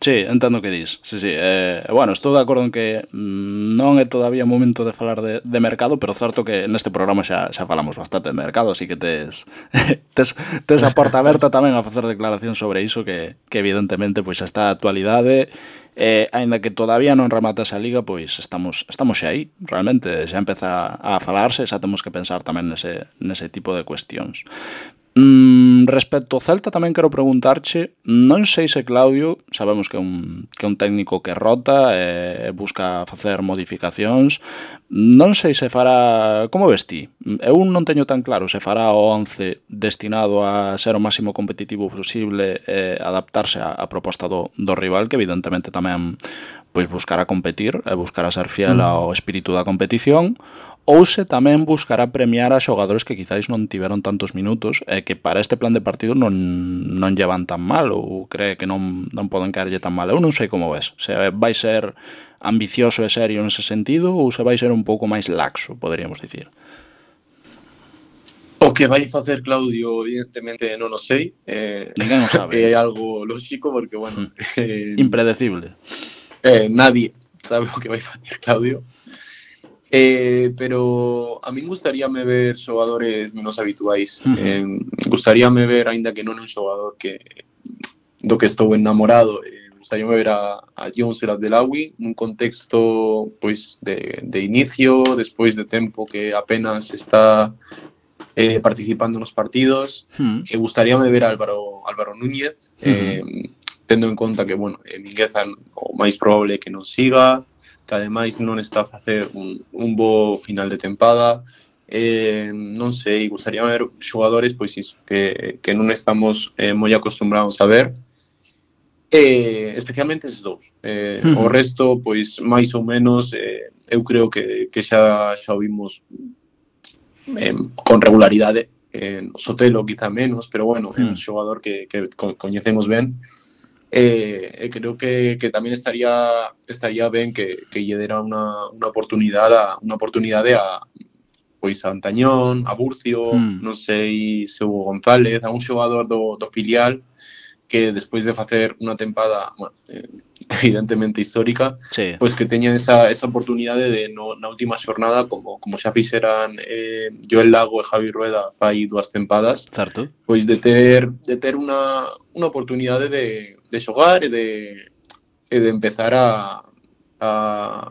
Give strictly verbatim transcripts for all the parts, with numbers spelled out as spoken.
Sí, entendo o que dis. Sí, sí. Eh, bueno, estou de acordo en que mm, non é todavía momento de falar de, de mercado, pero certo que neste programa xa xa falamos bastante de mercado, así que tes tes, tes a porta aberta tamén a facer declaración sobre iso que, que evidentemente pois está a actualidade, eh, aínda que todavía non remata esa liga, pois estamos estamos xa aí, realmente xa empeza a falarse, xa temos que pensar tamén nese nese tipo de cuestións. Mm, respecto ao Celta tamén quero preguntarche, non sei se Claudio, sabemos que é un, que é un técnico que rota e busca facer modificacións, non sei se fará, como ves ti? Eu non teño tan claro se fará o once destinado a ser o máximo competitivo posible e adaptarse á, á proposta do, do rival, que evidentemente tamén pois buscará competir e buscará ser fiel Mm. ao espírito da competición, ou se tamén buscará premiar a xogadores que quizáis non tiveron tantos minutos e que para este plan de partido non, non llevan tan mal ou cree que non, non poden caerlle tan mal. Eu non sei como ves. Se vai ser ambicioso e serio nese sentido ou se vai ser un pouco máis laxo, poderíamos dicir. O que vai facer Claudio, evidentemente, non o sei. Eh, Ninguén o sabe. É algo lógico porque, bueno, eh, impredecible. Eh, nadie sabe o que vai facer Claudio. Eh, pero a min gustaríame ver xogadores menos habituais. Uh-huh. Eh, gustaríame ver, aínda que non un xogador que do que estou enamorado, eh, gustaríame ver a, a Jones El Abdelawi nun contexto pois de, de inicio, despois de tempo que apenas está eh, participando nos partidos. Uh-huh. E gustaríame ver a Álvaro, Álvaro Núñez, eh, uh-huh. tendo en conta que, bueno, eh, Mingueza o máis probable que non siga, que ademais non está a facer un, un bo final de tempada. Eh, non sei, gustaríame ver xogadores pois iso, que, que non estamos eh, moi acostumbrados a ver. Eh, especialmente eses dous. Eh, uh-huh. O resto, pois, máis ou menos, eh, eu creo que, que xa, xa o vimos eh, con regularidade. Eh, Sotelo quizá menos, pero bueno, é uh-huh. un xogador que, que coñecemos ben. Eh, e creo que, que tamén estaría estaría ben que, que lle dera unha, unha oportunidade a, unha oportunidade a pois a Antañón, a Burcio, hmm. non sei se Hugo González, a un xogador do, do filial que despois de facer unha tempada, bueno, eh, evidentemente histórica, sí. pois que teñan esa, esa oportunidade de no, na última xornada, como, como xa fixeran eh, Joel Lago e Javi Rueda fai dúas tempadas, certo. Pois de ter de ter unha, unha oportunidade de, de xogar e de, e de empezar a, a,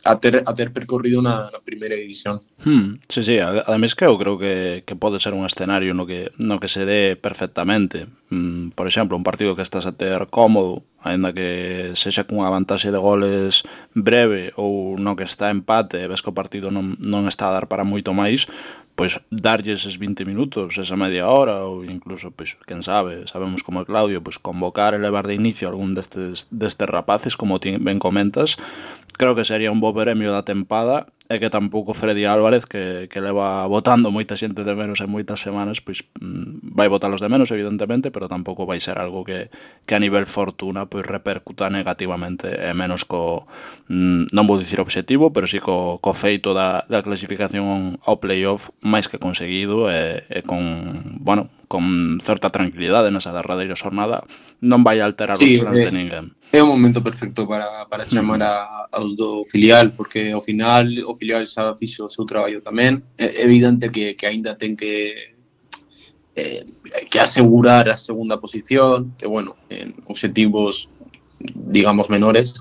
a, ter, a ter percorrido na, na primeira división. Hmm, sí, sí, ademais que eu creo que, que pode ser un escenario no que, no que se dé perfectamente. Mm, por exemplo, un partido que estás a ter cómodo, ainda que sexa cunha vantaxe de goles breve ou no que está empate e ves que o partido non, non está a dar para moito máis, pois darlle eses vinte minutos, esa media hora ou incluso, pois, quen sabe, sabemos como é Claudio, pois convocar e levar de inicio algún destes, destes rapaces, como ti ben comentas, creo que sería un bo premio da tempada e que tampouco Freddy Álvarez, que, que leva votando moita xente de menos en moitas semanas, pois vai votalos de menos, evidentemente, pero tampouco vai ser algo que, que a nivel fortuna pois repercuta negativamente, e menos co, non vou dicir obxectivo, pero sí co, co feito da, da clasificación ao playoff máis que conseguido e, e con, bueno, con certa tranquilidade nesa derradeira xornada, non vai alterar sí, os plans eh, de ninguén. É un momento perfecto para, para chamar a, aos do filial, porque ao final o filial xa fixo o seu traballo tamén. É evidente que, que aínda ten que eh, que asegurar a segunda posición, que, bueno, en obxectivos, digamos, menores.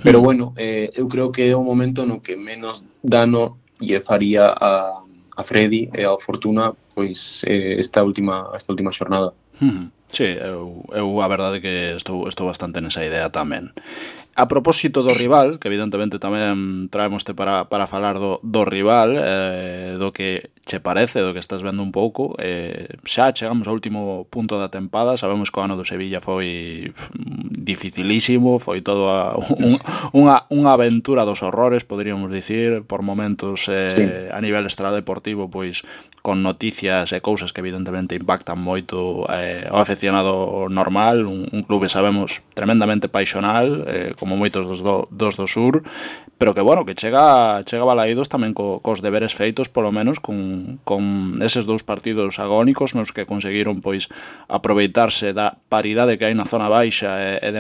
Pero, bueno, eh, eu creo que é o momento no que menos dano lle faría a, a Freddy e a Fortuna pois eh, esta última esta última xornada. Uh-huh. Sí, eu, eu a verdade que estou, estou bastante nesa idea tamén. A propósito do rival, que evidentemente tamén traemoste para, para falar do, do rival, eh, do que che parece, do que estás vendo un pouco, eh, xa chegamos ao último punto da tempada, sabemos que o ano do Sevilla foi dificilísimo, foi todo a, un, unha, unha aventura dos horrores, poderíamos dicir, por momentos eh, sí. a nivel extradeportivo, pois con noticias e cousas que evidentemente impactan moito eh, ao aficionado normal, un, un clube, sabemos, tremendamente paixonal, eh, como moitos dos do, dos do sur, pero que, bueno, que chega, chega balaídos tamén co, cos deberes feitos, polo menos, con, con eses dous partidos agónicos nos que conseguiron, pois, aproveitarse da paridade que hai na zona baixa e, e de